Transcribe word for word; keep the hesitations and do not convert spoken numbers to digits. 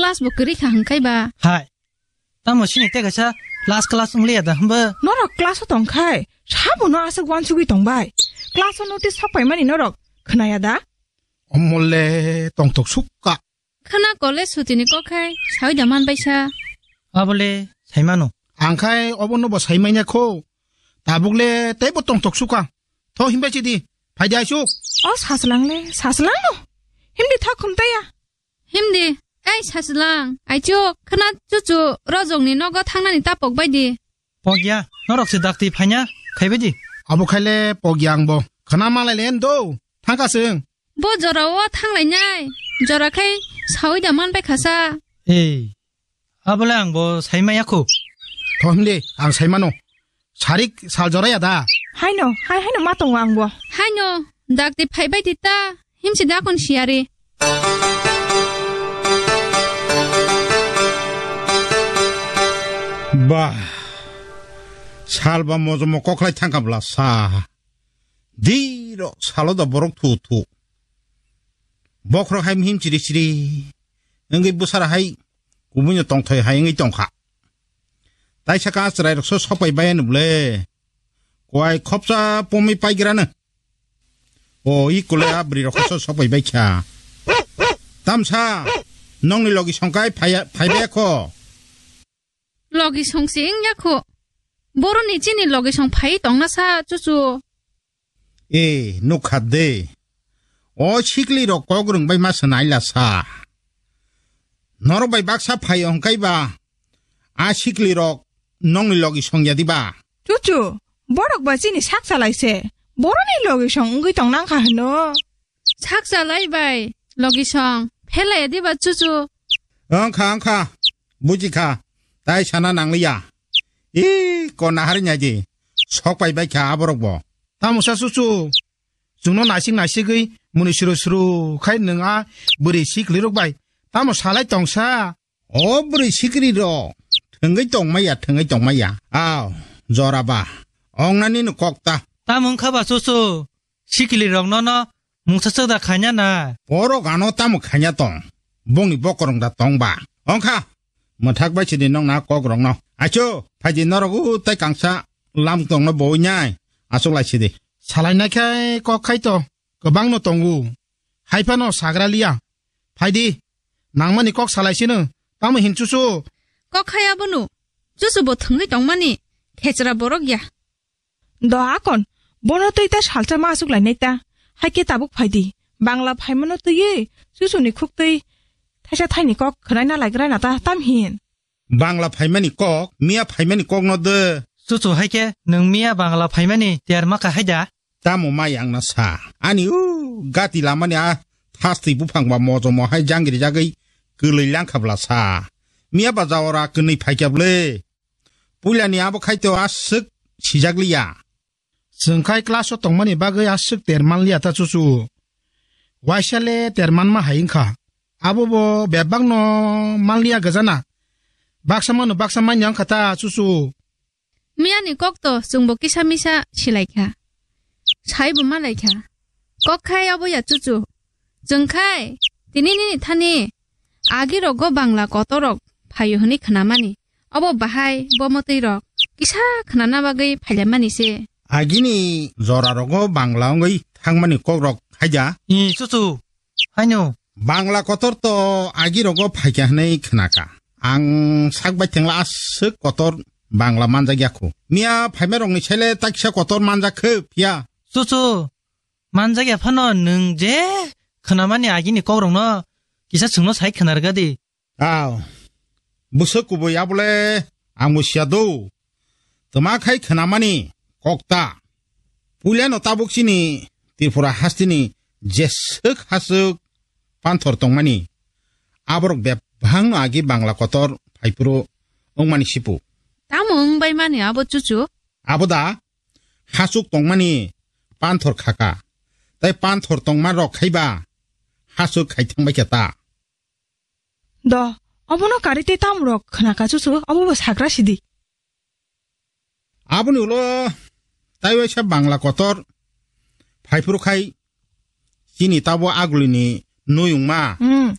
Class bo kwrwi kha hwnkhe ba. Hai. Tamo sini tei kaisa last class wng liya da hwnba? Norok class o tong khai, sabo no aswk uansugwi tong bai. Class o notice sok paimani norok khwnaya da? Omolle tongthok sukka. Khwna college sutini kok khai sawi da man baisa. Abole saimano. Ang khai obono bo saimanya kho. Tabuk le teibo tongthok sukha. Tho himbai chidi. Phaidi aisuk. O saslang le, saslang no. Himdi thok khumtaya. Himdi, ei saslang, aichuk, khwna chuchu, rojongni nogo thangnani ta pok baidi. Pokya, norok se dakti phanya, khaibaidi. Abo khaile pokya angbo. Khwna malai le endo, thangka seng. Bo jora o thanglainai, jora khai sawi da man bai khasa. Ei, abole ang bo saimaya kho. Thomle, ang saimano. Sarik sal joraya da? Haino, hai haino ma tongo ang bo. Haino, dakti phaibai di ta, himsi da kon siari. Bah, sal ba mojomo koklai thangka bla sa. Diro salo da borok thu thu. Bokhorok hai mihim chiri chiri. Wngwi bwsara hai kubuino tongthai hai wngwi tongkha. Taisa ka chwrairokso sopai bai ani bwle. Kuai khopsa pomwi paigrano. O, i kule a bwrwi rokso sopai bai kha. Tamsa, nongni logi songkai phaiya, phaibai kho. Logi song se wngya kho. Boroni chini logi song phai tongna sa chuchu. E, nukha de. O sikli rok kok rwng bai ma swnai la sa. Norok bai baksa phai hwnkhe ba. A sikli rok nongni logi songya di ba. Chuchu, borok ba chini sak chalai se. Boroni logi song wngwi tong nang kha hwno. Sak chalai bai, logi song, phelai di ba chuchu. Wngkha, wngkha, buji kha, tai sana nangliya. I, ko nahar nyai di, sok pai bai kha aborok bo. Tamo sa chuchu, chwngno naisik naisigwi muni suru suru khai nwng a bwrwi sikli rok bai. Tamo salai tong sa. O bwrwi sikri rok, thwngwi tong maya, thwngwi tong maya. Aw, jora ba, ong nani no kok ta. Tamo wngkha ba chuchu, sikli rok no no mungsa chwk da khanya na. Borok ano tamo khanya tong? Bongni bokorong da tong ba. Ongkha. Mwthak bai sidi nong na kok rok no. Aicho, phaidi norok u tai kangsa lam tong no bo nai. Aswk lai sidi. Salai nai khai kok khai to. Kwbang no tongo. Hai phano sagra liya. Phaidi. Nangmani kok salai sino. Tamo hin chuchu. Kok khai abono. Chuchu bo thwngwi tongmani. Khechra borok ya. Do akon, bono twi ta salsa ma aswk lainai ta. Hai khe tabuk phai di. Bangla phaimano twiwi, chuchuni khuk twi thaisa thaini kok khwnaina laigra na ta tam hin. Bangla phaimani kok, miya phaimani kok no de. Chuchu hai khe nwng miya Bangla phaimani tiyar ma kha hai da? Tamo mai ang na sa. Ani u gati lamani a thastwi buphang ba mojomo hai jangri jagwi kwlwi langkha bla sa. Miya ba jawara kwnwi phaikya bwle. Puilani abo khaito aswk sijak liya. Chwng khai class o tongmani bagwi aswk ter man liya ta chuchu. Waisa le ter man ma hai wngkha. Abo bo bebak no man liya gwjana. Baksa mano baksa manya wngkha ta chuchu. Miyani kok to chwngbo kisa misa silai kha. Saibo malai kha. Kok khai abo ya chuchu. Chwng khai tini nini thani agi rogo Bangla kotor rok phaio hwnwi khnamani. Obo bahai bo mwtwi rok kisa khnana bagwi phailaimani se. Agini jora rogo Bangla wngwi thangmani kok rok khaida. I chuchu. Haino. Bangla kotor to agi rogo phaikya hwnwi khnaka. Ang sak bai thengla aswk kotor Bangla manjak yakho. Miya phaima rokni sele takisa kotor manjak khe phiya. Chuchu. Manjak ya phano nwng je khnamani agini kokrokno kisa chwngno sai khnarwgadi. Aw, bwswk kubui abole ang bo siya do. Twma khai khnamani kok ta. Puilano tabuk chini Tripura hasteni jeswk haswk panthor tongmani. Aborok bebhangno agi Bangla kotor phaiphuru wngmani sipu. Tamo wngbai mani abo chuchu? Abo da haswk tongmani panthor khaka. Tai panthor tongma rok khaiba haswk khai thangbai khe ta. Do, obono kari tei tamrok khna ka chuchu, obo bo sagra sidi. Aboni ulo tai waisa Bangla kotor phaiphuru khai chini tabo agulini nui wngma. Hmm,